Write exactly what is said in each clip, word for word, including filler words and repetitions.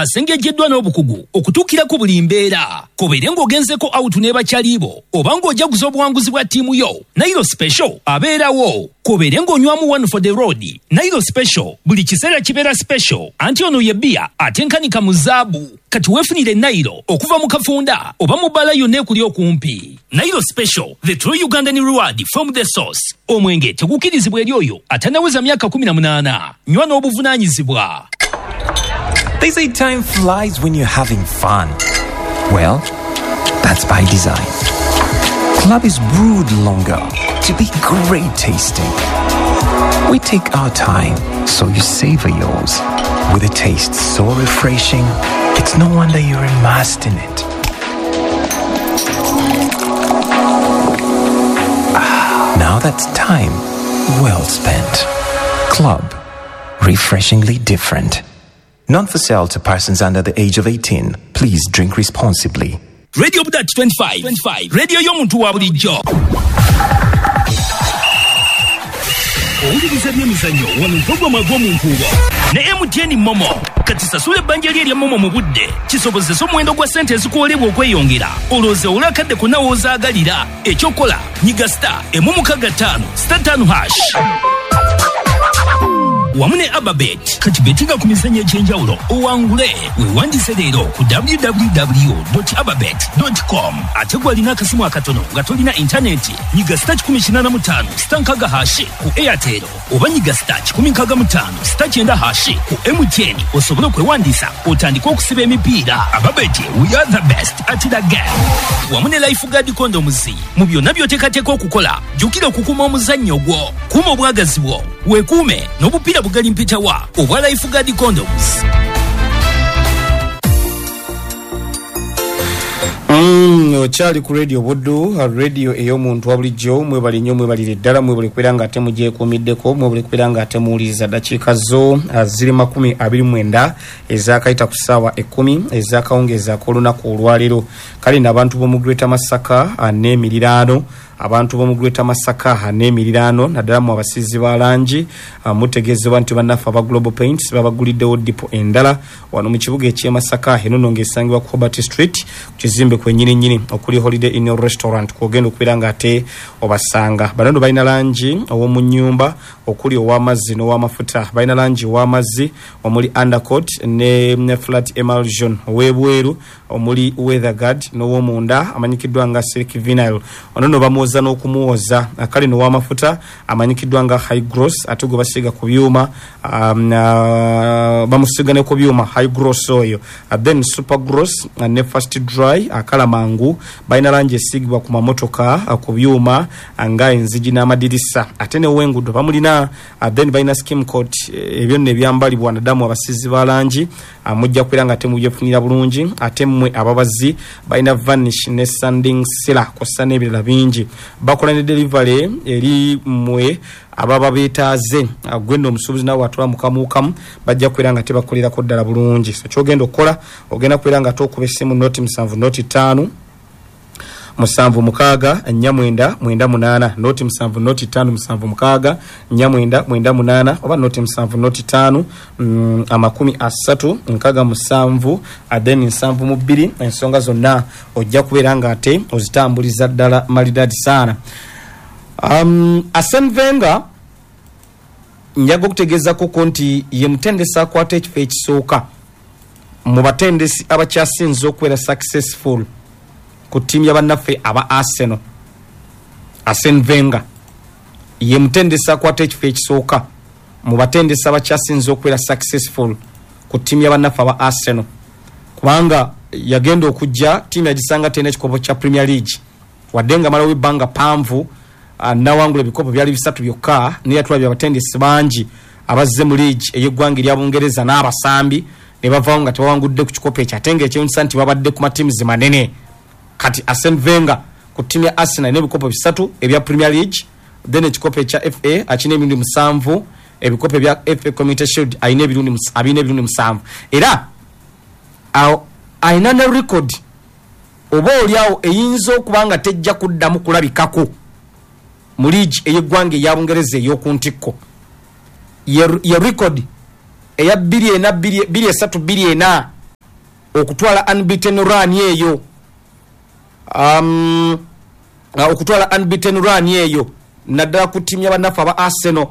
Asengejjeddwa n'obukugu okutuukira ku buli mbeera. Kubeere ng'ogenzeko out ne bakyalibo oba ng'ojaguza obuwanguzi bwa ttiimu yo, Nairo Special abeerawo. Kubeere ng'onywamu one for the road, Nairo Special buli kiseera kibeera special. Anti ono ye bbiya atenkanika mu zaabu. Kati weefunire Nairo okuva mu kafunda oba mu bbaala yonna ekuli okumpi. Nairo Special, the true Ugandan reward from the source. Omwenge tegukkirizibwa eri oyo atannaweza myaka kumi na munaana. Nywa n'obuvunaanyizibwa. They say time flies when you're having fun. Well, that's by design. Club is brewed longer to be great tasting. We take our time so you savor yours. With a taste so refreshing, it's no wonder you're immersed in it. Ah, now that's time well spent. Club, refreshingly different. Not for sale to persons under the age of eighteen. Please drink responsibly. Radio Budat twenty-five twenty-five, radio y'omuntu wa bulijjo. Owuliriza byemizannyo wano mpogoma gw'omu nkuubo ne M T N MoMo. Kati sasula ebbanja lye erya MoMo mu budde kisobozese omuwendo gwa ssente ezikuwolebwa okweyongera, olowooza owule akadde konna w'ozaagalira. Ekyokola, nyiga star emu mukaaga ttaano star ttaano hash wamu ne Ababet. Kati betinga ku mizannyo egy'enjawulo owangule. Weewandise leero ku W W W ababet com. Ate gwalina akasimu akatono nga tolina intaneti, nyiga star kikumi kinaana mu ttaano star nkaaga hash ku Airtel oba nyiga star kikumi nkaaga mu ttaano star kyenda hash ku M T N osobole okwewandiisa otandike okusiba emipiira. Ababet, we are the best at the game. Wamu ne Lifeguard condoms. Mu byonna by'oteekateeka okukola, jjukira okukuuma omuzannyo gwo, kuuma obwagazi bwo, weekuume n'obupiira bugali mpitawa obwa Lifeguard condoms. Mm, okyali ku Radio Buddu, radio ey'omuntu wa bulijjo. Mwebale nnyo, mwebalire ddala, mwebale kubeera nga ate mugyekuumiddeko, mwebale kubeera nga ate muwuliriza. Dakiika zo ah, ziri makumi abiri mwenda ezakayita ku ssaawa ekkumi ezakawungeezi ak'olunaku olwaleero. Kale nno abantu b'omu Greater Masaka ah, n'emiriraano, abantu b'omu Greater Masaka n'emiriraano, naddala mu abasiizi ba langi, ah, mutegeezebwa nti bannaffe aba Global Paints babaguliddewo depot endala wano mu kibuga eky'e Masaka. Eno nno ng'esangibwa ku Hobart Street, ku kizimbe kwennyini nnyini okuli Holiday Inn Restaurant, kwogenda okubeera nga ate obasanga. Bano nno balina langi ow'omu nnyumba okuli ow'amazzi n'ow'amafuta. Balina langi ow'amazzi omuli undercoat ne, ne flat emulsion, ow'ebweru omuli weatherguard, n'ow'omunda amanyikiddwa nga silk vinyl. Ono nno bamwoza n'okumwoza. Kale n'ow'amafuta amanyikiddwa nga high gloss, ate gwe basiiga ku byuma, um, uh, bamusiiga ne ku byuma high gloss oyo. uh, then super gloss uh, ne fast dry akala mangu. Balina langi esiigibwa ku mamotoka, uh, ku byuma uh, nga enzigi n'amadirisa, ate n'owengudo bamulina. uh, then balina skim coat, eh, ebyo nno ebyambalibwa naddamu abasiizi ba langi, uh, mujja kubeera nga temubyefunira bulungi. Ate mmwe ababazi, balina varnish ne sanding sealer kw'ossa n'ebirala bingi. Bakola ne delivery eri mmwe ababa beetaaze. Gwe nno omusuubuzi naawe atula mukamuukamu, bajja kubeera nga tebakolerako ddala bulungi. So kyogenda okukola, ogenda kubeera nga tokuba essimu noti musanvu noti ttaano musanvu mukaaga nnya mwenda mwenda munaana, noti musanvu noti ttaano musanvu mukaaga nnya mwenda mwenda munaana, oba noti musanvu noti ttaano mm, amakumi asatu nkaaga musanvu then nsanvu mu bbiri. Ensonga zonna ojja kubeera nga ate ozitambuliza ddala malidadi saana. um, Arsene Wenger njaga okutegeezako nti ye mutendesi akwata ekifo ekisooka mu batendesi abakyasinze okubeera successful ku ttiimu y'abannaffe aba Arsenal. Arsene Wenger ye mutendesi akwata ekifo ekisooka mu batendesi abakyasinze okubeera successful ku ttiimu y'abannaffe aba Arsenal, kubanga yagenda okujja ttiimu yagisanga terina ekikopo kya Premier League, wadde nga malawo ebbanga panvu ah, nawangula ebikopo byali bisatu byokka. Naye yatulabye abatendesi bangi abazze mu league ey'eggwanga erya Bungereza n'abasambi ne bavaawo nga tebawangudde ku kikopo ekyo, ate ngaekyewunyisa nti babadde ku matiimuzi manene. Kati Arsene Wenger ku ttiimu ya Arsenal n'ebikopo bisatu ebya Premier League, then ekikopo ekya F A akina emirundi musanvu, ebikopo ebya F A Community Shield alina emirundi mus- abirina emirundi musanvu, era awo alina ne record oba oliawo eyinza okuba nga tejja kuddamu kulabikako mu liigi ey'eggwanga eya Bungereza ey'oku ntikko. Ye ye record eya bbiri ena bbiri bbiri esatu bbiri ena. Okutwala unbeaten run eyo, um, okutwala unbeaten run eyo naddala ku ttiimu y'abannaffe aba Arsenal.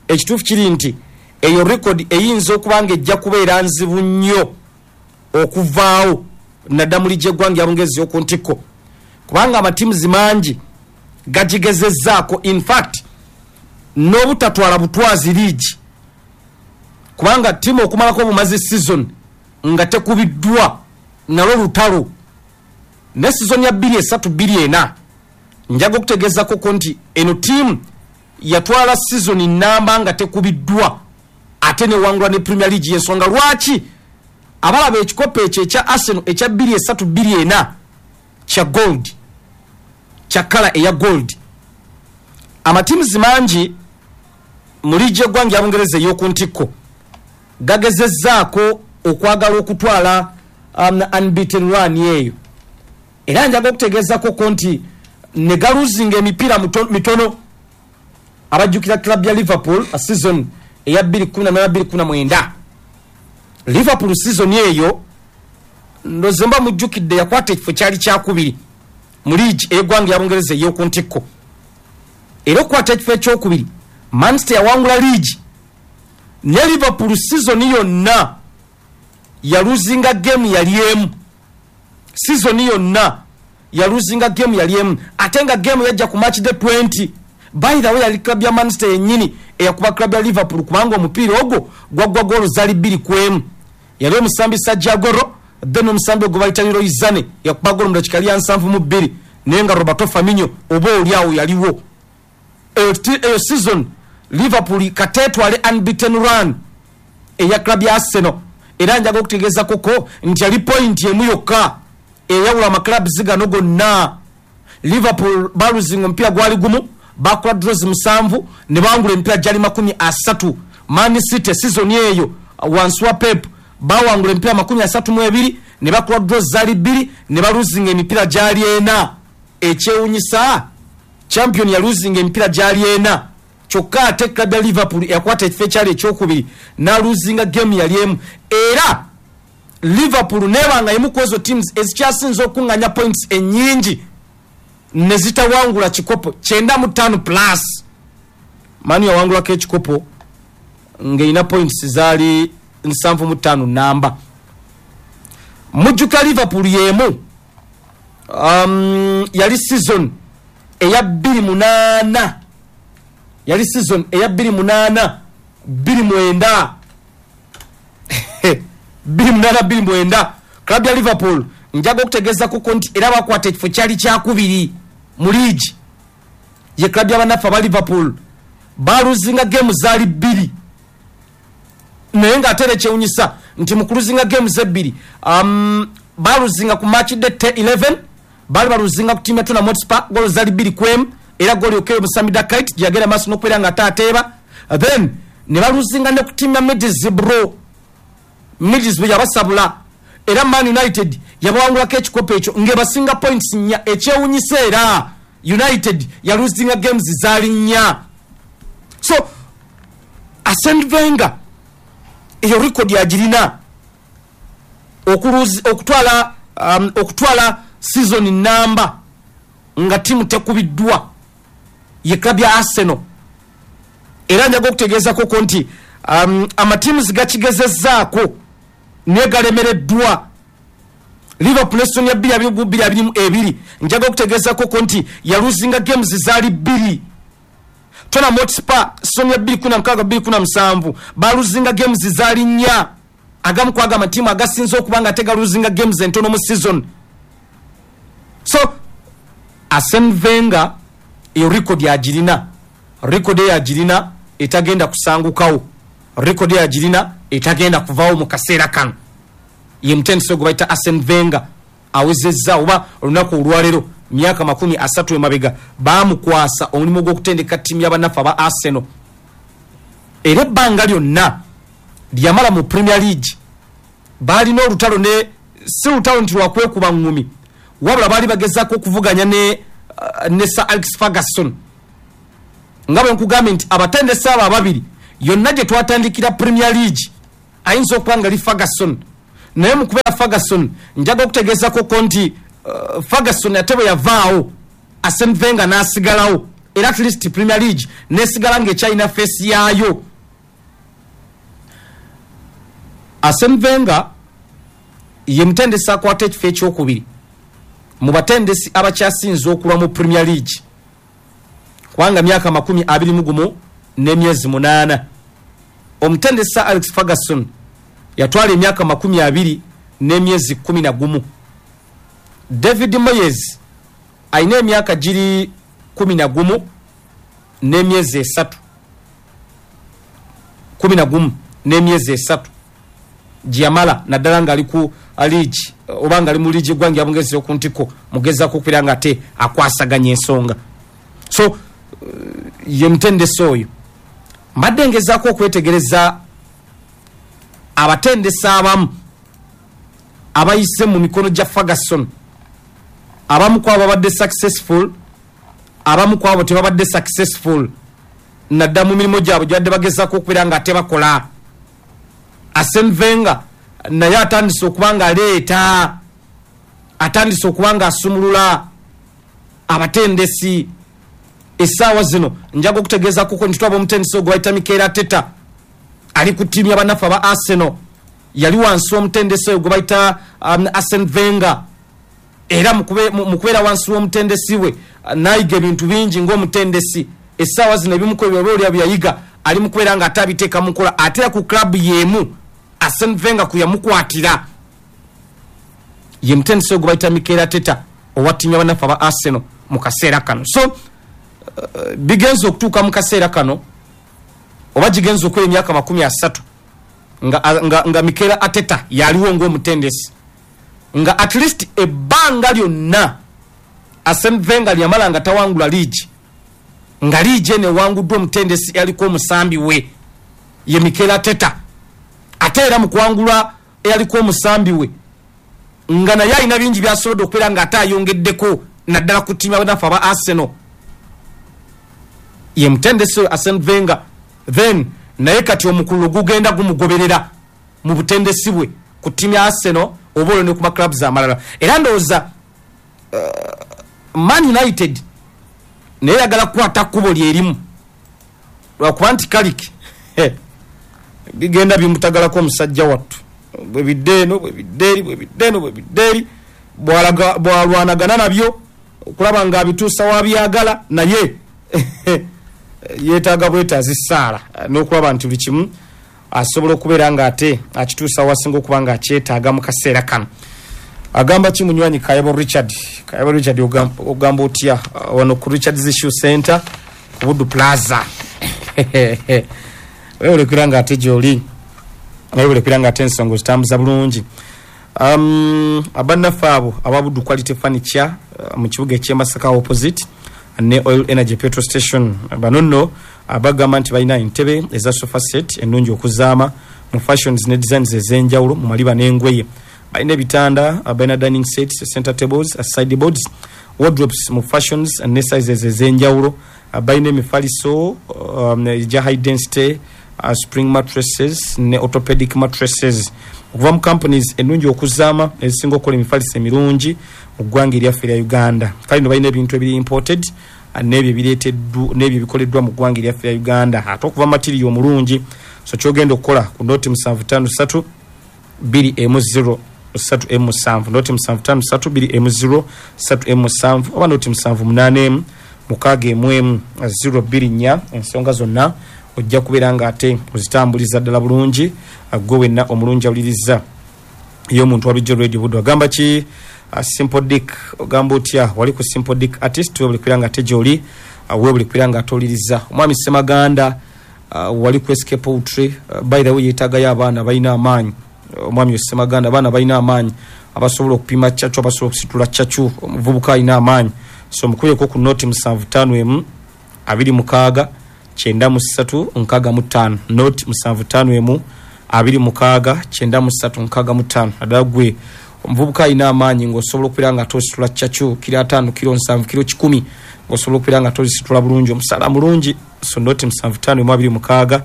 Ekituufu kiri nti eyo record eyinza okuba nga ejja kubeera nzibu nnyo okuvaawo, naddala mu liigi y'eggwanga ya Bungereza ey'oku ntikko, kubanga amatiimuzi mangi gagigezezzaako, in fact n'obutatwala butwazi liigi, kubanga ttiimu okumalako obumazi season nga tekubiddwa nalwo lutalo. Ne season ya bbiri esatu bbiri ena, njaga okutegeezako nti eno ttiimu yatwala season namba nga tekubiddwa, ate newangula ne Premier League. Yensonga lwaki abalaba ekikopo ekyo ekya Arsenal ekya bbiri esatu bbiri ena kya gold, kya color eya gold. Amatiimuzi mangi mu liigi y'eggwanga ya Bungereza ey'oku ntikko gagezezzaako okwagala okutwala um, unbeaten run eyo, era njaga okutegeezako nti ne galuzinga emipiira mitono. Abajjukira club ya Liverpool a season eya bbiri kumi na bbiri kumi na mwenda, Liverpool season eyo ndoze mba mujjukidde yakwata ekifo kyali kyakubiri mu liigi ey'eggwanga ya Bungereza ey'oku ntikko. Era okukwata ekifo ekyokubiri, Manchester yawangula liigi, ne Liverpool season yonna yaluzinga game yali emu. Season yonna yaluzinga game yali emu, ate nga game yajja ku match day twenty. By the way, yali club ya Manchester yennyini eyakuba club ya Liverpool, kubanga omupiira ogwo gwaggwa goolo zaali bbiri ku emu. Yali omusambi Sergio Aguero, then omusambi ogwo bayita Leroy Sane yakuba goolo mu dakiika lya nsanvu mu bbiri, naye nga Roberto Firmino oba oli awo yaliwo. Eyo season Liverpool kateetwale unbeaten run eya club ya Arsenal. Era njaga okutegeeza koko nti yali point emu yokka eyawula amaclubs gano gonna. Liverpool baluzinga omupiira gwali gumu, bakola draws musanvu, ne bawangula emipiira gyali makumi asatu. Man City season eyo wansi wa Pep bawangula emipiira makumi asatu mu ebiri, ne bakola draws zaali bbiri, ne baluzinga emipiira gyali ena. Ekyewunyisa, champion yaluzinga emipiira gyali ena, kyokka ate club ya Liverpool yakwata ekifo ekyali ekyokubiri n'aluzinga game yali emu. Era Liverpool nebanga emu ku ezo teams ezikyasinze okuŋŋaanya points ennyingi ne zitawangula kikopo, kyenda mu ttaano plus. Man yawangulako ekikopo ng'erina points zaali nsanvu mu ttaano namba. Mujjuka Liverpool y'emu um, yali season eya bbiri munaana, yali season eya bbiri munaana bbiri mwenda, bbiri munaana bbiri mwenda, club ya Liverpool njaga okutegeeza kuko nti era bakwata ekifo kyali kyakubiri mu liigi. Ye club y'abannaffe aba Liverpool baluzinga game zaali bbiri, naye ng'ate era ekyewunyisa nti mu kuluzinga games ebbiri, um, baluzinga ku match day eleven, baali baluzinga ku ttiimu ya Tottenham Hotspur, goolo zaali bbiri ku emu, era goolo yokka omusambi Dakite gye yagenda maaso n'okubeera nga ate ateeba. Then ne baluzinga ne ku ttiimu ya Middlesbrough, Middlesbrough yabasabula, era Man United yabawangulako ekikopo ekyo ng'ebasinga points nnya. Ekyewunyisa, era United yaluzinga games zaali nnya. So Arsene Wenger eyo record yagirina, okutwala um, okutwala season namba nga tiimu tekubiddwa, ye club ya Arsenal. Era njaga okutegeezako nti um, amatiimu gakigezezzaako naye galemereddwa. Liverpool season ya bbiri abiri bbiri abiri mu ebiri, njaga okutegeezako nti yaluzinga games zaali bbiri. Tottenham Hotspur season ya bbiri kumi na mukaaga bbiri kumi na musanvu baluzinga games zaali nnya. Agamu kwaga amatiimu agasinze okuba nga tegaluzinga games entono mu season. So Arsene Wenger eyo record yagirina, record eyagirina etagenda kusangukawo, record eyagirina etagenda kuvaawo mu kaseera kano. Ye mutendesi gwe bayita Arsene Wenger awezezza oba olunaku olwaleero myaka makumi asatu emabega baamukwasa omulimu gw'okutendeka ttiimu y'abannaffe aba Arsenal. Era ebbanga lyonna lyamala mu Premier League baalina olutalo, ne si lutalo nti lwakwekuba ŋŋumi, wabula baali bagezaako okuvuganya ne, uh, ne Sir Alex Ferguson. Nga bwe nkugambye nti abatendesi abo ababiri yonna gye twatandikira Premier League ayinza okuba nga li Ferguson, Naye mu kubeera Ferguson, njaga okutegeezako nti uh, Ferguson ate bwe yavaawo, Arsene Wenger n'asigalawo, era at least Premier League nesigala ng'ekyalina face yaayo. Arsene Wenger ye mutendesi akwata ekifo ekyokubiri mu batendesi abakyasinze okulwa mu Premier League, kubanga myaka makumi abiri mu gumu n'emyezi munaana. Omutendesi Alex Ferguson yatwala emyaka makumi abiri n'emyezi kumi na gumu. David Moyes alina emyaka giri kumi na gumu n'emyezi esatu, kumi na gumu n'emyezi esatu gyeyamala naddala ng'ali ku liigi oba ng'ali mu liigi eggwanga ya Bungereza ku ntiko mugezaako okubeera nga ate akwasaganya ensonga. So ye mutendesi oyo. Mbadde ngezaako okwetegereza abatendesi abamu abayise mu mikono gya Ferguson, abamu ku abo babadde successful, abamu ku abo tebabadde successful nadda mu mirimu gyabwe gyabadde bagezaako okubeera nga ate bakola. Arsene Wenger naye atandise okuba nga aleeta, atandise okuba nga asumulula abatendesi. Essaawa zino njaga okutegeeza kuko nti twaba omutendesi ogwo bayita Mikel Arteta ali ku ttiimu y'abannaffe aba Arsenal, yali wansi w'omutendesi oyo gwe bayita um, Arsene Wenger, era mu kubeera wansi w'omutendesi we n'ayiga ebintu bingi ng'omutendesi. Essaawa zino ebimu ku ebyo oba oli bye yayiga ali mu kubeera nga ate abiteeka mu nkola, ate era ku club y'emu Arsene Wenger ku yamukwatira. Ye mutendesi oyo gwe bayita Mikel Arteta owa ttiimu y'abannaffe aba Arsenal mu kaseera kano. So uh, bigenze okutuuka mu kaseera kano oba gigenze okuba emyaka makumi asatu nga, nga, nga Mikel Arteta yaliwo ng'omutendesi, nga at least ebbanga lyonna Arsene Wenger lyamala nga tawangula liigi, nga liigi eno ewanguddwa omutendesi yaliko omusambi we ye Mikel Arteta. Ate era mu kuwangula eyaliko omusambi we nga naye alina bingi by'asobodde okubeera nga ate ayongeddeko naddala ku ttiimu y'abannaffe aba Arsenal, ye mutendesi oyo Arsene Wenger. Then naye kati omukululo gugenda gumugoberera mu butendesi bwe ku ttiimu ya Arsenal oba olwo ne ku maclubs amalala. Era ndowooza uh, Man United naye yagala kukwata kkubo lyerimu, lwakuba nti Carrick bigenda bimutagalako omusajja wattu, bwe bidde eno bwe bidde eri bwe bidde eno bwe bidde eri, bwalwanagana nabyo okulaba ng'abituusa wabyagala, naye yeetaaga bwetaazi ssaala n'okulaba nti buli kimu asobola okubeera ng'ate akituusa wasinga okuba ng'akyetaaga mu kaseera kano. Agamba ki munywanyi Kayabo Richard? Kayabo Richard, ogamba otya wano ku Richard's Issue Center ku Buddu Plaza? Weewulekera ng'ate gy'oli, weewulekera ng'ate ensonga ozitambuza bulungi. Um, abannaffe abo aba Buddu Quality Furniture uh, mu kibuga eky'e Masaka opposite ne Oil Energy Petrol Station, bano nno abagamba nti balina entebe eza sofa set ennungi okuzaama mu fashions ne designs ez'enjawulo mu maliba n'engoye. Balina ebitanda, balina dining sets, center tables, sideboards, wardrobes mu fashions ne sizes ez'enjawulo. Balina emifaliso um, egya high density, uh, spring mattresses ne orthopedic mattresses okuva mu companies ennungi okuzaama ezisinga okukola emifaliso emirungi mu ggwanga eryaffe erya Uganda. Kale no balina ebintu ebiri imported n'ebyo ebireeteddwa n'ebyo ebikoleddwa mu ggwanga eryaffe erya Uganda, ate okuva material omulungi. So ky'ogenda okukola ku noti musanvu ttaano ssatu bbiri emu zero ssatu emu musanvu, noti musanvu ttaano ssatu bbiri emu zero ssatu emu musanvu, oba noti musanvu munaana emu mukaaga emu emu zero bbiri nnya. Ensonga zonna ojja kubeera ng'ate ozitambuliza ddala bulungi gwe wenna omulungi awuliriza y'omuntu wa bulijjo Radio Buddu. Agamba ki uh, Simple Dick? Ogamba otya wali ku Simple Dick Artist? Weebale kubeera nga ate gy'oli, uh, weebale kubeera nga ate owuliriza. Omwami Ssemaganda uh, wali ku S K Poultry, uh, by the way yeetaagayo abaana balina amaanyi. Omwami uh, Ssemaganda, abaana balina amaanyi abasobola okupima cacu, abasobola okusitula cacu, omuvubuka alina amaanyi. So mukubireko ku noti musanvu ttaano emu abiri mukaaga kyenda mu ssatu nkaaga mu ttaano, noti musanvu ttaano emu abiri mukaaga kyenda mu ssatu nkaaga mu ttaano. Naddala gwe omuvubuka alina amaanyi ng'osobola okubeera nga tositula cacu kiro ataano, kiro nsanvu, kiro kikumi, ng'osobola okubeera nga tozisitula bulungi, omusaala mulungi. So noti musanvu ttaano emu abiri mukaaga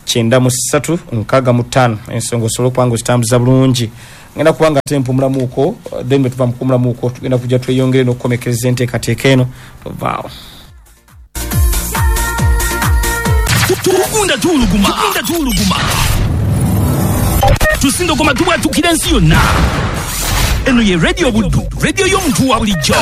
kyenda mu ssatu nkaaga mu ttaano, ensonga osobola okuba nga ozitambuza bulungi. Ngenda kuba nga ate mpumulamuuko, then bwe tuva mu kupumulamuuko tugenda kujja tweyongere n'okukomekereza enteekateeka eno. Tovaawo. Tugunda tuwuluguma, tugunda tuwuluguma, tusindogoma tubwatukira ensi yonna. Eno ye Radio Buddu, radio y'omuntu wa bulijjo.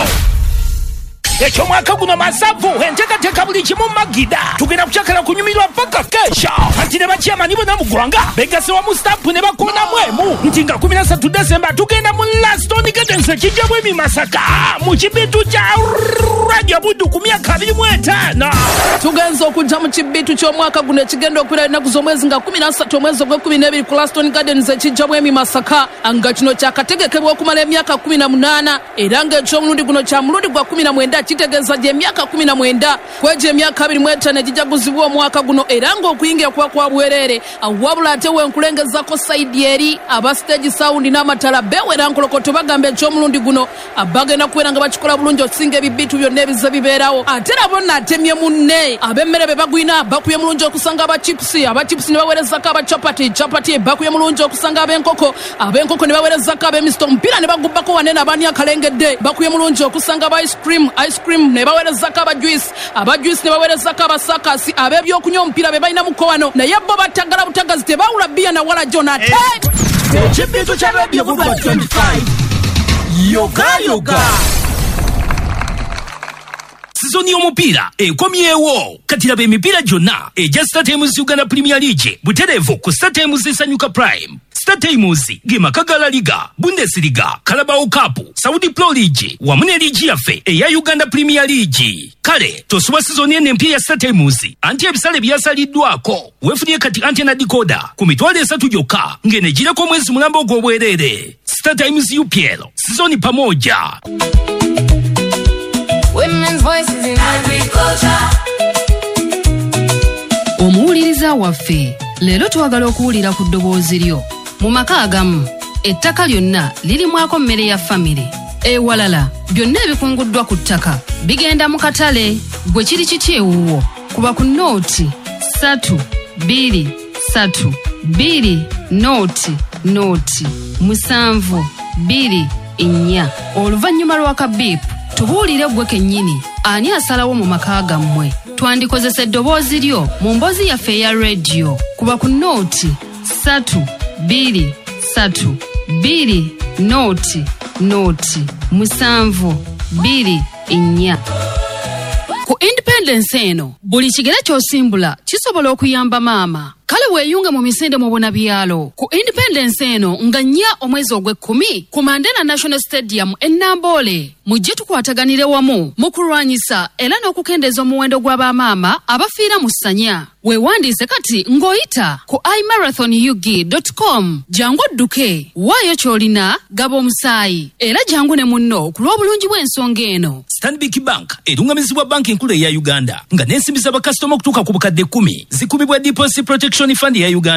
Ekyomwaka guno masavu, enteekateeka buli kimu magida. Tugenda kukyakala kunyumirwa paka kesha. Anti ne bakyamani bonna mu ggwanga begasse wamu stampu ne bakoonamu emu nti nga kumi na ssatu Desemba tugenda mu Laston Gardens ekijja bwemi Masaka mu kibitu kya Radio Buddu ku myaka abiri mu etaano. Tugenza okujja mu kibitu ky'omwaka guno ekigenda okubeera ennaku z'omwezi nga kumi na ssatu omwezi ogw'ekkumi n'ebiri ku Laston Gardens ekijja bwemi Masaka, nga kino kyakategekebwa okumala emyaka kumi na munaana era ng'eky'omulundi guno kya mulundi gwa kumi na mwenda, kitegeeza gy'emyaka kumi na mwenda kwegyo emyaka abiri mu etaano egijaguzibwa omwaka guno, era ng'okuyingira kuba kwa bwereere. Wabula ate wenkulengezako sayidi eri aba stage sound n'amatala beewera nkolokoto bagamba eky'omulundi guno bagenda kubeera nga bakikola bulungi okusinga ebibitu byonna ebize bibeerawo. Ate nabo nno atemye munne, ab'emmere be bagwina bakubye mulungi okusanga aba chipusi, aba chipusi ne baweerezako aba chapati, chapati bakubye mulungi okusanga ab'enkoko, ab'enkoko ne baweerezako ab'emisito, omupiira ne bagubbako wanene abaani akalengedde bakubye mulungi okusanga aba ice cream, ice cream ne baweerezako aba juice, aba juice ne baweerezako abasakasi, ab'ebyokunywa omupiira be balina muko wano, naye bo batagala butagazi tebawula bbiya na wala jona. Ate ekibitu kya Radio Buddu twenty-five yoga yoga. Sizoni y'omupiira ekomyewo. Kati laba emipiira gyonna egya StarTimes Uganda Premier League butereevu ku StarTimes Sanyuka Prime. StarTimes ge maka ga La Liga, Bundesliga, Carabao Cup, Saudi Pro League wamu ne liigi yaffe eya Uganda Premier League. Kale tosubwa sizoni eno empya ya StarTimes anti ebisale byasaliddwako. Weefunye kati antenna decoder ku mitwalo esatu gyokka ng'eno egireko omwezi mulamba ogw'obwereere. StarTimes U P L sizoni pamoja. Women's voices in agriculture. Omuwuliriza waffe, leero twagala okuwulira ku ddoboozi lyo. Mu maka agamu, ettaka lyonna lirimwako mmere ya famire. Ewalala, byonna ebikunguddwa ku ttaka bigenda mu katale. Gwe kiri kiti ewuwo? Kuba ku nooti ssatu bbiri ssatu bbiri nooti nooti musanvu bbiri nnya. Oluvannyuma lwa kabiipu tubuulire ggwe kennyini ani asalawo mu maka gammwe. Twandikozesa eddoboozi lyo mu mboozi yaffe eya rediyo. Kuba ku nooti ssatu bbiri ssatu bbiri nooti nooti musanvu bbiri nnya. Ku Independence eno buli kigere ky'osimbula kisobola okuyamba maama. Kale weeyunge mu misinde mu bunabyalo. Ku Independence eno nga nnya omwezi ogw'ekkumi ku Mandela National Stadium e Namboole. Mujje tukwataganire wamu mu kulwanyisa era n'okukendeeza omuwendo gw'abamaama abafiira mu ssanya. Weewandiise kati ng'oyita ku i marathon u g dot com. Jangu odduke, waayo ky'olina, gaba omusaayi era jangu ne munno ku lw'obulungi bw'ensonga eno. Stanbic Bank erungamizibwa banki enkulu eya Uganda nga n'ensimbi z'abakasitoma okutuuka ku bukadde kkumi zikubibwa Deposit Protection Fund ya Uganda.